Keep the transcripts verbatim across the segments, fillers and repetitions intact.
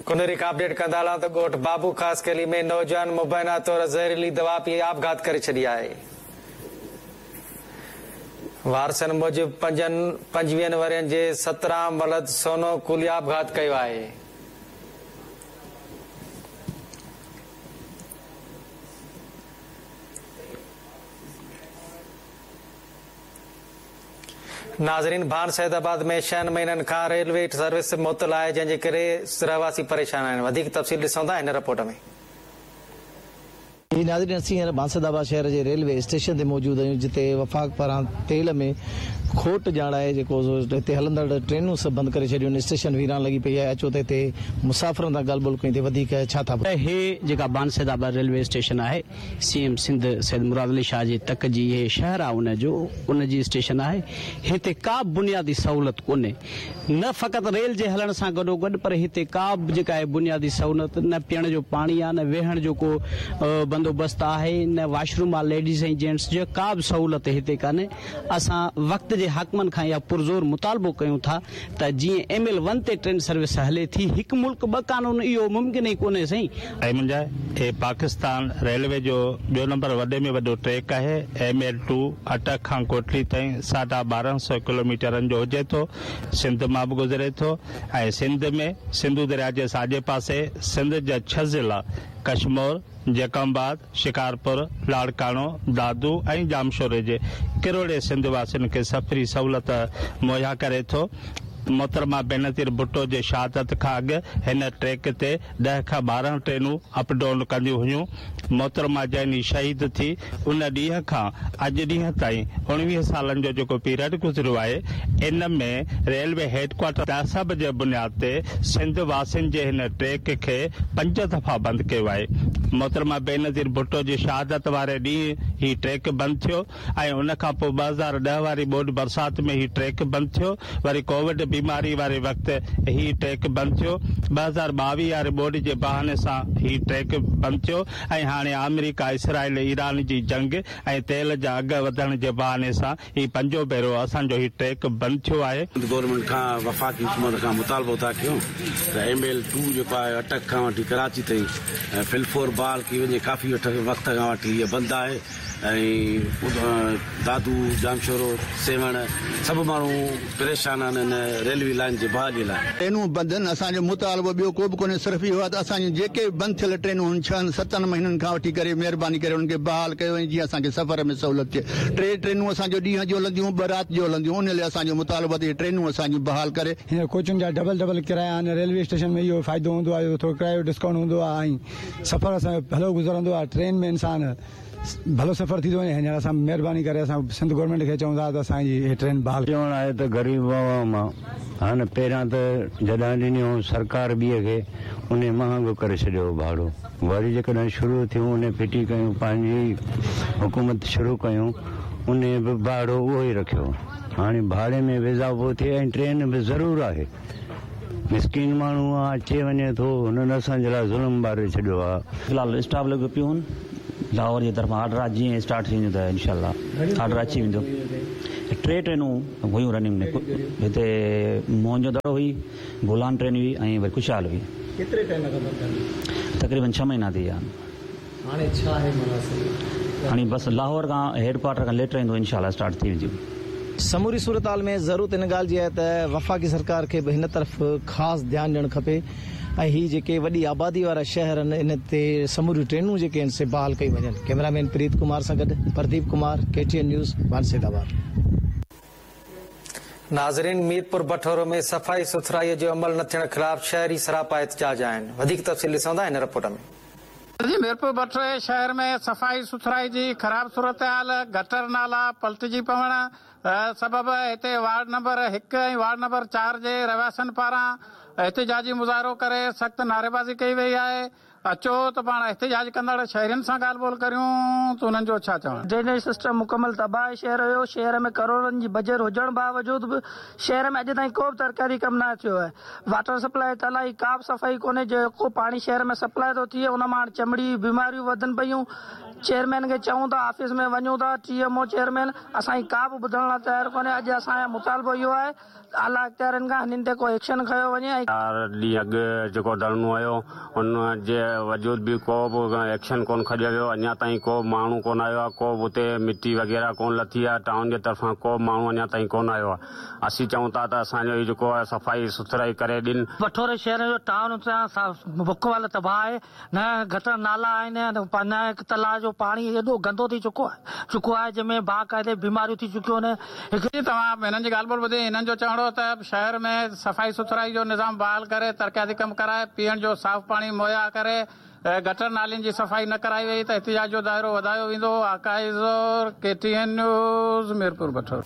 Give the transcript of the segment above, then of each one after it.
ڪنري کان اپڊيٽ ڪندا هلان ته ڳوٺ بابو خاصخيلي ۾ نوجوان مبينا طور زهريلي دوا پي آپگهات ڪري ڇڏي آهي. وارثن موجب پنجن پنجويهن ورهين جي سترام ولد سونو ڪولي آپگهات ڪيو آهي. नाज़रीन, भान सैदाबाद में छहनि महीननि खां रेलवे सर्विस मुअतल आहे, जंहिंजे करे रहवासी परेशान आहिनि। वधीक तफ़सील ॾिसूं था हिन रिपोर्ट में। नाज़रीन, असीं हींअर भान सैदाबाद शहर जे रेलवे स्टेशन ते मौजूदु आहियूं, जिते वफ़ाक़ पारां तेल में खोट ॼाणाए जेको हिते हलंदड़ ट्रेनूं सभु बंदि करे छॾियूं आहिनि। स्टेशन वीरान लॻी पई आहे। अचो त हिते मुसाफ़िरनि सां ॻाल्हि ॿोल कयूं त वधीक छा था। हे जेका भान सैदाबाद रेलवे स्टेशन आहे, सी एम सिंध सैयद मुराद अली शाह जे तक जी हे शहर आहे, उनजो उनजी स्टेशन आहे। हिते का बुनियादी सहूलियत कोन्हे, न फ़क़ति रेल जे हलण सां गॾोगॾु, पर हिते का बि जेका आहे बुनियादी सहूलियत, न पीअण जो पाणी आहे, न वेहण जो को बंदोबस्त आहे, न वाशरूम आहे लेडीज़ ऐं जेंट्स जो, का बि सहूलियत हिते कान्हे। असां वक़्त जे हाकिमनि खां इहा पुरज़ोर मुतालबो कयूं था त जीअं एम एल वन ते ट्रेन सर्विस हले थी, हिकु मुल्क ॿ कानून, इहो मुमकिन ई कोन्हे साईं। ऐं मुंहिंजा हे पाकिस्तान रेलवे जो ॿियो नंबर वॾे में वॾो ट्रैक आहे। एम एल टू अटक खां कोटली ताईं साढा ॿारहं सौ किलोमीटरनि जो हुजे थो। सिंध मां बि गुज़रे थो ऐं सिंध में सिंधु दरिया जे साॼे पासे सिंध जा छह ज़िला कश्मोर, जैकबाद, शिकारपुर, लाड़काणो, दादू ऐं जामशोरे जे किरोड़े सिंध वासियुनि खे सफ़री सहूलियत मुहैया करे थो। मोहतरमा बेनज़ीर भुट्टो जे शहादत खां अॻु हिन ट्रैक ते ॾह खां ॿारहं ट्रेनूं अप डाउन कंदियूं हुयूं। मोहतरमा जंहिं शहीद थी उन ॾींहं खां अॼु ॾींहं ताईं उणिवीह सालनि जो जेको पीरियड गुज़रियो आहे, इन में रेलवे हेडक्वार्टर तहसब जे बुनियाद ते सिंध वासियुनि जे हिन ट्रैक खे पंज दफ़ा बंदि कयो आहे। मोहतरमा बेनज़ीर भुट्टो जी शहादत वारे ॾींहुं ही ट्रैक बंदि थियो ऐं उन खां पोइ ॿ हज़ार ॾह वारी ॿोॾ बरसात में ही ट्रैक बंदि थियो। वरी कोविड बीमारी वारे वक़्तु ही ट्रैक बंदि थियो। ॿ हज़ार ॿावीह वारे ॿोॾ जे बहाने सां ही ट्रैक बंदि थियो ऐं हाणे आमेरिका, इसराइल, ईरान जी जंग ऐं तेल जा अघ वधण जे बहाने सां ही पंजो भेरो असांजो ही ट्रैक बंदि थियो आहे। गवर्नमेंट खां वफ़ाक़ी हुकूमत खां मुतालबो था कयूं त एम एल टू जेको आहे अटक खां वठी कराची ताईं फिलफोर बहाल की वञे। काफ़ी वक़्त खां वठी इहा बंदि आहे ऐं दादू, जामशोरो, सेवण सभु माण्हू परेशान आहिनि हिन रेलवे लाइन जे बहाली लाइ। ट्रेनूं बंदि आहिनि, असांजो मुतालबो ॿियो को बि कोन्हे, सिर्फ़ु इहो आहे त असांजूं जेके बंदि थियल ट्रेनूं आहिनि छहनि सतनि महीननि खां वठी करे महिरबानी करे उन्हनि खे बहाल कयो वञे, जीअं असांखे सफ़र में सहूलियत थिए। टे ट्रेनूं असांजो ॾींहं जो हलंदियूं, ॿ राति जो हलंदियूं, उन लाइ असांजो मुतालबो आहे ट्रेनूं असांजूं बहाल करे। हींअर कोचुनि जा डबल डबल किराया आहिनि। रेलवे स्टेशन में इहो फ़ाइदो हूंदो आहे, थोरो किरायो डिस्काउंट हूंदो आहे ऐं सफ़र असांजो भलो गुज़रंदो आहे। ट्रेन में इंसान भलो सफ़र थी थो वञे। हींअर असां महिरबानी करे असां सिंध गवर्नमेंट खे चऊं था त असांजी हीअ ट्रेन बहाल। चवणु आहे त ग़रीब आवाम आहे, हाणे पहिरियां त जॾहिं ॾिनियूं सरकार ॿीअ खे, उन महांगो करे छॾियो भाड़ो। वरी जेकॾहिं शुरू थियूं, उन फिटी कयूं, पंहिंजी हुकूमत शुरू कयूं, उन बि भाड़ो उहो ई रखियो। हाणे भाड़े में बि इज़ाफ़ो थिए ऐं ट्रेन बि ज़रूरु आहे। मिसकीन माण्हू आहे, अचे वञे थो, हुननि असांजे लाइ ज़ुल्म ॿारे छॾियो आहे। फ़िलहाल स्टाफ लॻो पियो आहिनि। लाहौर जे तरफ़ां आर्डर आहे, जीअं स्टार्ट थी वेंदो त इनशाला आर्डर अची वेंदो। टे ट्रेनूं हुयूं रनिंग में, हिते मोहन जो दड़ो हुई, गोलान ट्रेन हुई ऐं वरी खुशहाल हुई। केतिरे टाइम खां बंदि आहिनि? तक़रीबन छह महीना थी विया आहिनि। हाणे छा आहे माना? हाणे बसि लाहौर खां हेड क्वार्टर खां लेटर ईंदो, इनशाला स्टार्ट थी वेंदियूं। समूरी सूरत हाल में ज़रूरत इन ॻाल्हि जी आहे त वफ़ाक़ी सरकार खे बि हिन तरफ़ ख़ासि ध्यानु ॾियणु खपे ऐं हीअ जेके वॾी आबादी वारा शहर आहिनि इन ते समूरियूं ट्रेनूं जेके आहिनि से बहाल कई वञनि। कैमरामैन प्रीत कुमार सां गॾु Pradeep Kumar, K T N news, Bhan Saidabad. नाज़रीन, मीरपुर बठोरो में सफ़ाई सुथराईअ जो अमल न थियण ख़िलाफ़ शहरी सरापा एहतजाज आहिनि। वधीक तफ़सील ॾिसूं था हिन रिपोर्ट में। जी, मीरपुर बठोरे शहर में सफ़ाई सुथराई जी ख़राब सूरत हाल, गटर नाला पलटिजी पवण सबब हिते वार्ड नंबर हिकु ऐं वार्ड नंबर चार जे रहवासियुनि पारां एहतजाजी मुज़ाहिरो करे सख़्तु नारेबाज़ी कई वई आहे। अचो त पाण एहतजाज कंदड़ शहरियुनि सां ॻाल्हि ॿोल करियूं त उन्हनि जो छा चवणु। ड्रेनेज सिस्टम मुकमल तबाह आहे शहर जो। शहर में करोड़नि जी बजट हुजण बावजूद बि शहर में अॼु ताईं को बि तरकारी कमु न थियो आहे। वाटर सप्लाई तलाई का बि सफ़ाई कोन्हे, जेको पाणी शहर में सप्लाई थो थिए उन मां हाणे चमड़ी बीमारियूं वधनि पयूं। चेयरमैन खे चऊं था, ऑफिस में वञूं था, टी एम ओ चेयरमैन असांजी का बि ॿुधण लाइ तयारु कोन्हे। अॼु असांजो मुतालबो इहो आहे आला अख़्तियारनि खां हिननि ते को एक्शन खयो वञे। ऐं चार ॾींहं अॻु जेको धरणो हुयो उन जे वजूद बि को बि एक्शन कोन खञियो वियो, अञा ताईं को माण्हू कोन आयो आहे, को बि उते मिटी वग़ैरह कोन लथी आहे, टाउन जे तरफ़ां को बि माण्हू अञा ताईं कोन आयो आहे। असीं चऊं था त असांजो इहो जेको आहे सफ़ाई सुथराई करे ॾियनि। बठोरे शहर जो टाउन बुख वाला तबाह आहे, न गटर नाला आहिनि, न तलाउ जो पाणी एॾो गंदो थी चुको आहे चुको आहे जंहिंमें बाक़ाइदे बीमारियूं थी चुकियूं आहिनि। तव्हां हिननि जी ॻाल्हि ॿोल ॿुधी, हिननि जो चवणु हो त शहर में सफ़ाई सुथराई जो निज़ाम बहाल करे, तरक़ियाती कम कराए, पीअण जो साफ़ पाणी मुहैया करे, गटर नालियुनि जी सफ़ाई न कराई वई त एहतिजाज जो दायरो वधायो वेंदो। आकाइज़ोर, K T N news, Mirpur Bathoro.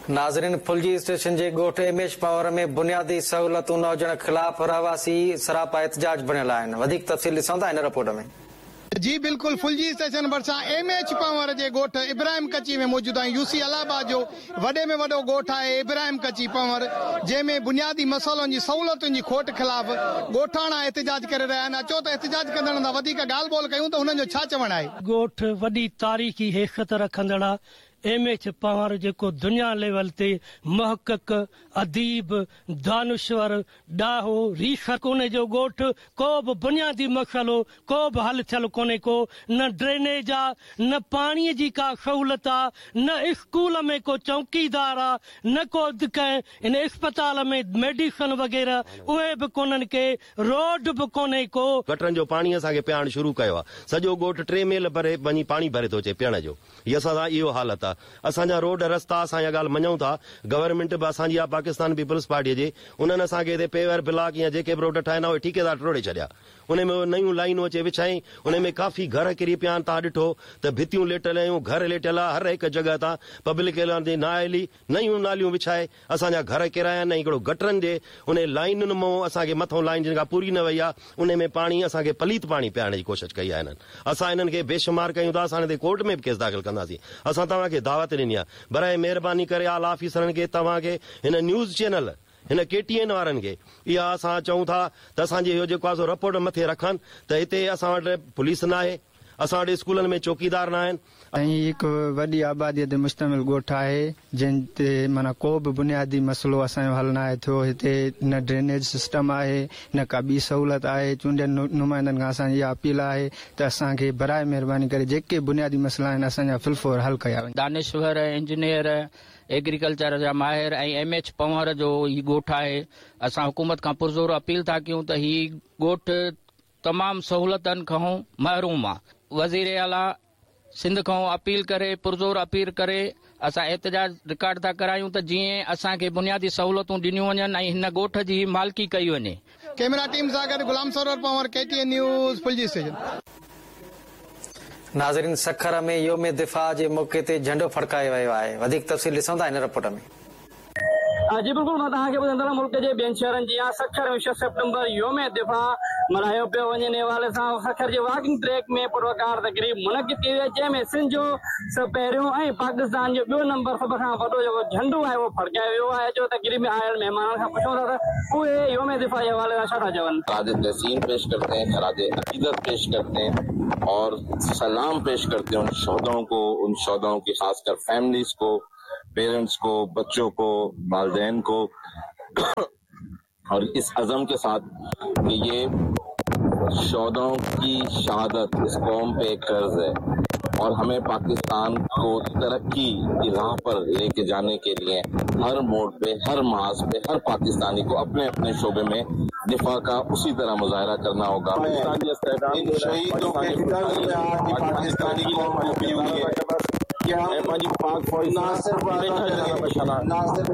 नाज़रीन, फुलजी स्टेशन जे ॻोठ एम एच पावर में बुनियादी सहूलियतूं न हुजण ख़िलाफ़ रहवासी सरापा एहतिजाज बणियल आहिनि। वधीक तफ़सील ॾिसूं था हिन रिपोर्ट में। जी बिल्कुल, फुलजी स्टेशन भरिसां एम एच पंवर जे ॻोठ इब्राहिम कच्ची में मौजूदु आहियूं। यूसी इलाहाबाद जो वॾे में वॾो ॻोठ आहे इब्राहिम कच्ची पंवर, जंहिंमें बुनियादी मसइलनि जी सहूलियतुनि जी खोट ख़िलाफ़ ॻोठाणा एहतिजाज करे रहिया आहिनि। अचो त एहतिजाज कंदड़नि सां वधीक ॻाल्हि ॿोल कयूं त हुननि जो छा चवणु आहे। ॻोठ वॾी तारीख़ी हैसियत रखंदड़ आहे। एम एच पंवर जेको दुनिया लेवल ते मुहक़िक़, अदीब, दानश्वर, ॾाहो, रीख कोन्हे जो ॻोठ, को बि बुनियादी मसइलो को बि हल थियल कोन्हे को, न ड्रेनेज आहे, न पाणीअ जी का सहूलियत आहे, न स्कूल में को चौकीदार आहे, न को कंहिं इन अस्पताल में मेडिसिन वग़ैरह उहे बि कोन्हनि के, रोड बि कोन्हे को। गटरनि जो पाणी असांखे पीअण शुरू कयो आहे, सॼो ॻोठ टे मील भरे वञी पाणी भरे थो अचे पीअण जो। हीअ असां सां इहो हालत आहे। असांजा रोड रस्ता असां इहा ॻाल्हि मञूं था, गवर्नमेंट बि असांजी आहे पाकिस्तान पीपल्स पार्टीअ जी, उन्हनि असांखे हिते पेवर ब्लॉक या जेके बि रोड ठाहिनि उहे ठीकेदार टोड़े छॾिया, उन में नयूं लाइनूं अचे विछाई, उन में काफ़ी घर किरी पिया आहिनि। तव्हां ॾिठो त भितियूं लेटियल आहियूं, घर लेटियल आहे, हर हिकु जॻह तां पब्लिक जी नाअहली नयूं नालियूं विछाए असांजा घर किराया आहिनि। ऐं हिकिड़ो गटरनि जे उन लाइनुनि मां असांखे मथां लाइन जिन खां पूरी न वई आहे, उन में पाणी असांखे पलीत पाणी पीअण जी कोशिशि कई आहे हिननि। असां हिननि खे बेशुमार कयूं था, असां हिन ते कोर्ट में बि केस दाख़िल कंदासीं। असां तव्हांखे दावत ॾिनी आहे, बराए महिरबानी करे आला ऑफिसरनि खे, तव्हांखे, हिन न्यूज़ चैनल, हिन के टी एन वारनि खे इहा असां चऊं था त असांजी इहो जेको आहे सो रिपोर्ट मथे रखनि त हिते असां वटि पुलिस न आहे, असां वटि स्कूलनि में चौकीदार न आहिनि। ऐं हिकु वॾी आबादीअ ते मुश्तमिल ॻोठ आहे जंहिं ते माना को बि बुनियादी मसइलो असांजो हल न आहे थियो। हिते न ड्रेनेज सिस्टम आहे, न का ॿी सहूलियत आहे। चूंडियल नुमाइंदनि खां असांजी इहा अपील आहे त असांखे बराए महिरबानी करे जेके बुनियादी मसइला आहिनि असांजा फिलफोर हल कया वञनि। दानिश्वर, इंजीनियर, एग्रीकल्चर जा माहिर ऐं एम एच पंवर जो ही ॻोठ आहे। असां हुकूमत खां पुरज़ोर अपील था कयूं त ही ॻोठ तमामु सहूलियतुनि खां महरूम आहे। वज़ीर आला सिंध खां अपील करे, पुरज़ोर अपील करे असां एहतिजाज रिकॉर्ड था करायूं त जीअं असांखे बुनियादी सहूलियतूं ॾिनियूं वञनि ऐं हिन ॻोठ जी मालिकी कई वञे। कैमरा टीम सां गॾु Ghulam Sarwar Panhwar, K T N news, Phulji station. नाज़रीन, सखर में योम दिफ़ा जे मौक़े ते झंडो फड़कायो वियो आहे। वधीक तफ़सील ॾिसूं था हिन रिपोर्ट में। जी बिल्कुलु, मां तव्हांखे ॿुधाईंदो मुल्क जे ॿियनि शहरनि जीअं सखर में छह सेप्टेम्बर योम दिफ़ा मल्हायो पियो वञे। इन हवाले सां सखर जे वॉकिंग ट्रैक में पुरवकार तक़रीब मुनक़िद कई वई, जंहिंमें सिंध जो पहिरियों ऐं पाकिस्तान जो ॿियो नंबर सभ खां वॾो जेको झंडो आहे उहो फड़कायो वियो आहे। जो तक़रीब में आयल महिमाननि खां पुछूं था त उहे योम दिफ़ा जे हवाले सां छा था चवनि। खराज तहसीन पेश करते हैं, खराज अकीदत पेश करते हैं और सलाम पेश करते हैं उन शोहदाओं को, उन शोहदाओं की खासकर फैमिलीज को, पेरेंट्स को, बच्चों को, वालिदैन को, और इस अज़म के साथ कि ये शोहदाओं की शहादत इस कौम पे एक कर्ज है और हमें पाकिस्तान को तरक्की की राह पर लेके जाने के लिए हर मोड़ पे, हर महाज पे, हर पाकिस्तानी को अपने अपने शोबे में दिफा का उसी तरह मुजाहरा करना होगा। इन शहीदों के कर्ज में आज पाकिस्तानी कौम डूबी हुई है कि हम ना सिर्फ ना सिर्फ